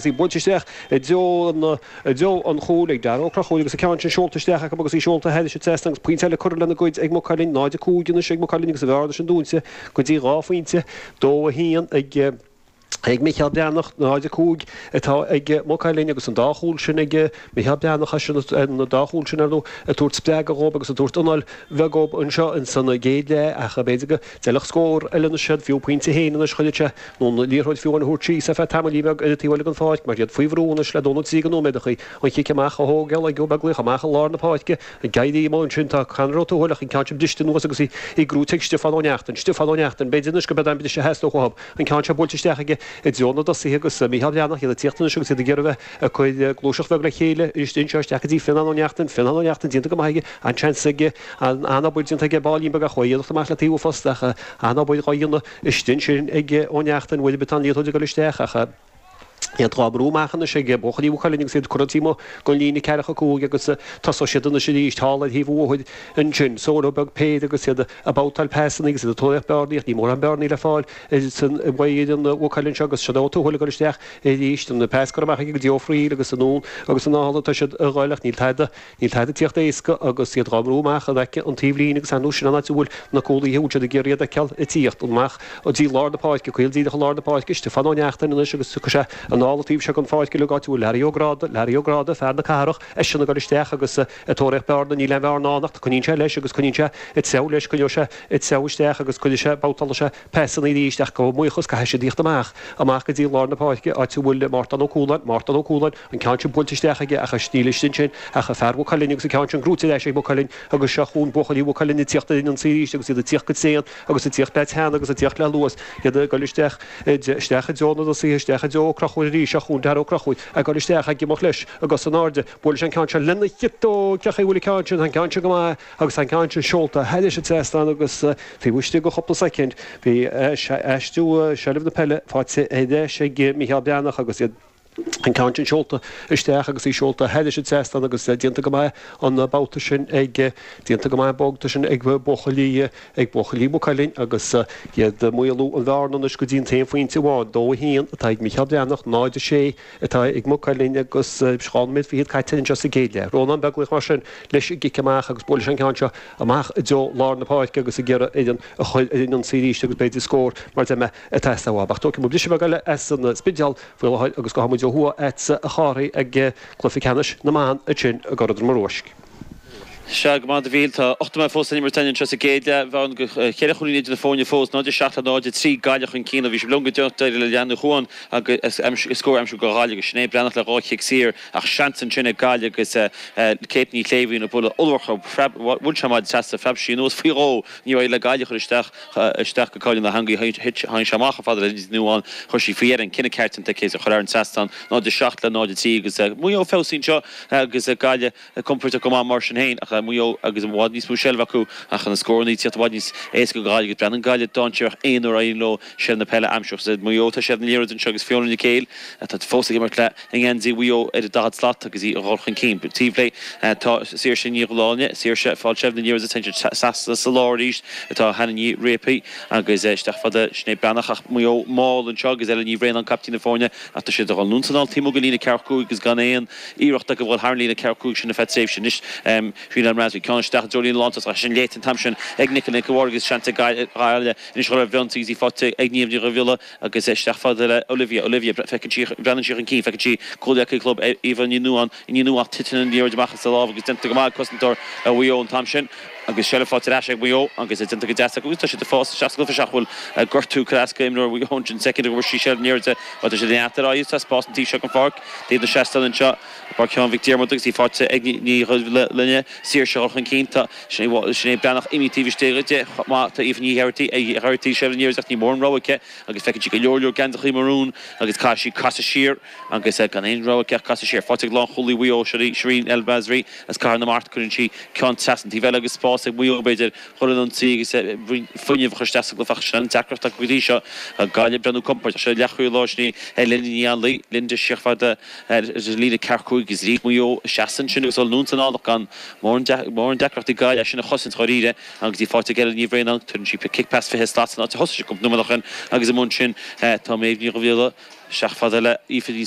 Í buailte isteach i dtreo i dtreo an chúil ag Dara Ó Conchúir agus an ceann sin seolta isteach acu agus í seolta thairis an trasnán agus pointe eile curtha lena gcuid ag Maigh Cuilinn. 0-5 anois ag Maigh Cuilinn agus an bhearna sin dúnta go dtí 2 phointe. 2-1 ag ag Micheál Breathnach, 0-5 atá ag Maigh Cuilinn agus an dá chúl sin ag Micheál Breathnach as sin an dá chúl sin ar ndóigh ag tabhairt spreagadh dhóibh agus ag tabhairt anáil bheag dhóibh anseo ins an gcéad leath ach b'fhéidir go dteilfeadh scór eile anois iad fiú pointe féin anois chuirfeadh sé nó an liathróid fiú amháin a thabhairt síos ar feadh tamaillín beag ar an taobh eile den pháirc mar iad faoi bhrú anois le dó nó trí de nóiméadachaí. An chic amach á thógáil ag Ó Beaglaoich amach i lár na páirce. Ag éirí amuigh ansin tá Conor Ó Tuathail ach an ceann sin briste anuas agus í gnóite ag Stiofán Ó Neachtain. Stiofán Ó Neachtain, b'fhéidir anois gurb é an briseadh a theastódh uathu. An ceann seo buailte isteach aige i dtreo na dtosaithe agus Mícheál Breathnach, iad ag tíocht anois agus iad ag iarraidh a bheith ag cur gluaiseacht bheag le chéile arís anseo isteach go dtí Fionnán Ó Neachtain. Fionnán Ó Neachtain déanta go maith aige. An-seans aige, an-obair déanta aige baillín beag ach chuaigh a iarracht amach le taobh an phosta ach an-obair dhá dhéanamh Istigh ansin ag Ó Neachtain, uair ar bith tá an liathróid ag dul isteach ach iad dhá mbrú amach anois ag buachaillí Mhaigh Cuilinn agus iad curtha taobh amuigh den líne ceathracha 5 agus tosóidh siad anois arís thall ar thaobh an bhóthair ansin. Solo beag péire agus iad ag babhtáil pasanna agus iad ag tóraíocht bearnaí ach níl mórán bearnaí le fáil san bhfoireann Mhaigh Cuilinn seo agus seo Ó Tuathail ag dul isteach arís. An pas curtha amach aige go dtí Ó Fríl agus anonn agus anall atá siad a dhul ach níl tada Níl tada ag tíocht éasca agus iad dhá mbrú amach in aice an taobhlíne agus ar ndóigh sin an áit a bhfuil na cúlaithe a bhfuil siad ag iarraidh iad a fheiceáil ag tíocht amach go dtí lár na páirce, caol díreach i lár na páirce. Stiofán Ó Neachtain anois agus tiocfaidh sé anall an taobh seo den pháirc uilig áit a bhfuil Larry Ó Gráda, Larry Ó Gráda, fear na cathrach, eisean ag dul isteach agus ag tóraíocht bearna, níl aon bhearna ann ach coinníonn sé leis agus coinníonn sé ag treabhadh leis, coinneoidh sé ag treabhadh isteach agus cuirfidh sé, babhtálfaidh sé pasanna arís ach gabh mo bhuíochas caithfidh siad tíocht amach, amach go dtí lár na páirce áit a bhfuil Mártán Ó Cualáin, Mártán Ó Cualáin, An ceann sin buailte isteach aige ach níl istigh ansin ach fear Mhaigh Cuilinn agus an ceann sin gnóite ar ais ag Maigh Cuilinn agus seo chugainn buachaillí Mhaigh Cuilinn ag tíocht ar an ionsaí arís agus iad ag tíocht go tréan agus ag tíocht le teann agus ag tíocht le luas, iad ag dul isteach, isteach i dtreo na dtosaithe, isteach i dtreo Ó Conchúir arís, seo chugainn Dara Ó Conchúir ag dul isteach, ag imeacht leis i gcos in airde, buailfidh sé an ceann seo lena chiotóg, cén chaoi a bhfuil an ceann sin, tá an ceann sin go maith agus tá an ceann sin seolta thairis an trasnán agus taobh istigh de chúpla soicind bhí aistriú seilbh na peile faighte ar ais ag Mícheál Breathnach agus iad. An ceann sin seolta isteach agus í seolta thairis an trasnán agus déanta go maith an babhta sin ag, déanta go maith an babhta sin ag buachaillí, ag buachaillí Mhaigh Cuilinn agus iad ag maolú an bhearna anois go dtí an t-aon phointe amháin, 2-1 atá ag Mícheál Breathnach, 0-6 atá ag Maigh Cuilinn agus 2 nóiméad fichead caite anseo sa gcéad leath. Rónán Beaglaoich mar sin leis an gcic amach agus buailfidh sé an ceann seo amach i dtreo lár na páirce agus ag iarraidh foireann a chur ar an ionsaí arís agus b'fhéidir scór mar a deir mé ag teastáil uathu. Ach tógfaidh muid briseadh beag eile as an Spidéal faoi láthair agus gabhfaidh muid ó thuaidh agatsa a Chárthaigh ag cluiche ceannais na mban ansin i gCora Droma Ruaisc. Sea, go maith a Mhíchíl. Tá 8 nóiméad fós san imirt againn anseo sa gcéad leath. Bearna cheithre chúilín idir na foirne fós, 0-7 le 0-3, Gaillimh chun cinn. Ó bhí sibh liom go deireanach d'éirigh le Leain Ní Chuan agus scór a aimsiú do Ghaillimh agus Sinéad Breathnach le dhá chic saor ach seans ansin ag Gaillimh agus Kate Ní Shléibhín ag bualadh ollmhór, bhuail sé maide trasna, phreab sí anuas faoi dhó. Níor éirigh le Gaillimh a chur isteach. isteach go cáil na heangaí. Thit, tháinig sé amach chomh fada le Linda Ní Nuadháin. Chuir sí faoi dheireadh an cinneadh ceart déanta aici is a chur thar an trasnán, 0-7 le 0-3 agus Maigh Eo feabhsaithe anseo agus Gaillimh compordach go maith mar sin féin ach Maigh Eo agus i bhfad níos mó seilbh acu ach na scóranna ag tíocht i bhfad níos éasca do Ghaillimh agus breathnaíonn Gaillimh dainséarach aon uair a éiríonn leo seilbh na peile a aimsiú. Agus Maigh Eo tá seilbh na liathróide anseo agus Fiona Nic Éil atá fós ag imirt le i ngeansaí Mhaigh Eo ar an 40 slat agus í ag dhul chun cinn. Taobh léi tá Saoirse Ní Dhubhshláine, Saoirse ag fáil seilbh na liathróide téann siad trasna sa lár arís atá Hannah Ní Réapaí agus isteach fada Sinéad Breathnach ach Maigh Eo mall anseo agus Ella Ní Bhraonáin caiptín na foirne ach tá siad ag dul anonn is anall taobh amuigh den líne ceathracha cúig agus gan aon iarracht acu a dhul thar an líne ceathracha cúig sin ar feadh tréimhse. Anois Shereen El Masri ceann isteach i dtreo líne lántosach sin léite an t-am sin ag Nicola Nic a' Bhaird agus seans ag Gaillimh anois a dhul ar an bhfionsaí agus í faighte ag Niamh Ní Dhubhghiolla Agus isteach fada le Olivia. Olivia, feiceann sí, breathnaíonn sí chun cinn, feiceann sí comhghleacaí club Aoibheann Ní Nuadháin, Ní Nuadháin, titeann an liathróid amach as a lámh agus déanta go maith ag cosantóir Mhaigh Eo an t-am sin. Agus seilbh faighte ar ais ag Maigh Eo agus déanta go deas acu agus tá siad ag fás isteach sa gcluiche seachas go bhfuil gortú curtha as go imreoir Mhaigh Eo ansin soicind go bhfuair sí seilbh na liathróide mar tá siad ag neart ar aghaidh. Tá spás an taobh seo den pháirc, taobh na seastán anseo. Páirc Sheáin Mhic Diarmada agus í faighte ag Ní Dhuibhlinne. Saoirse ag dul chun cinn. Tá Sinéad Breathnach imithe taobh istigh di chomh maith. Tá Aoife Ní Ghearaighty ag Ghearaighty seilbh na liathróide ach ní mórán rogha aici agus feiceann sí go leor leor geansachaí marún agus caithfidh sí casadh siar agus gan aon rogha aici ach casadh siar. Faighte ag lánchúlaí Mhaigh Eo, Shereen El Masri as Cathair na Mart. Cuireann sí ceann trasna an taobh eile agus spás ag Maigh Eo b'fhéidir dhul ar an ionsaí agus fuinneamh a chur isteach sa gcluiche ach sin an deacracht acu go dtí seo. Gaillimh ag breathnú compordach. Seo leathchúlaí láir sin í Linda Ní Anluain. Linda siar fada. Ar líne ceathracha cúig agus arís Maigh Eo ag seasamh ansin agus dul anonn is anall ach gan mórán deacrachtaí Gaillimh é sin a chosaint dháiríre agus í faighte ag Ella Ní Bhraonáin. Tuireann sí cic pas 20 slat san áit a thosaigh sí cúpla nóiméad ó shin agus amuigh ansin tá Méabh Ní Dhubhghiolla isteach fada le Aoife Ní.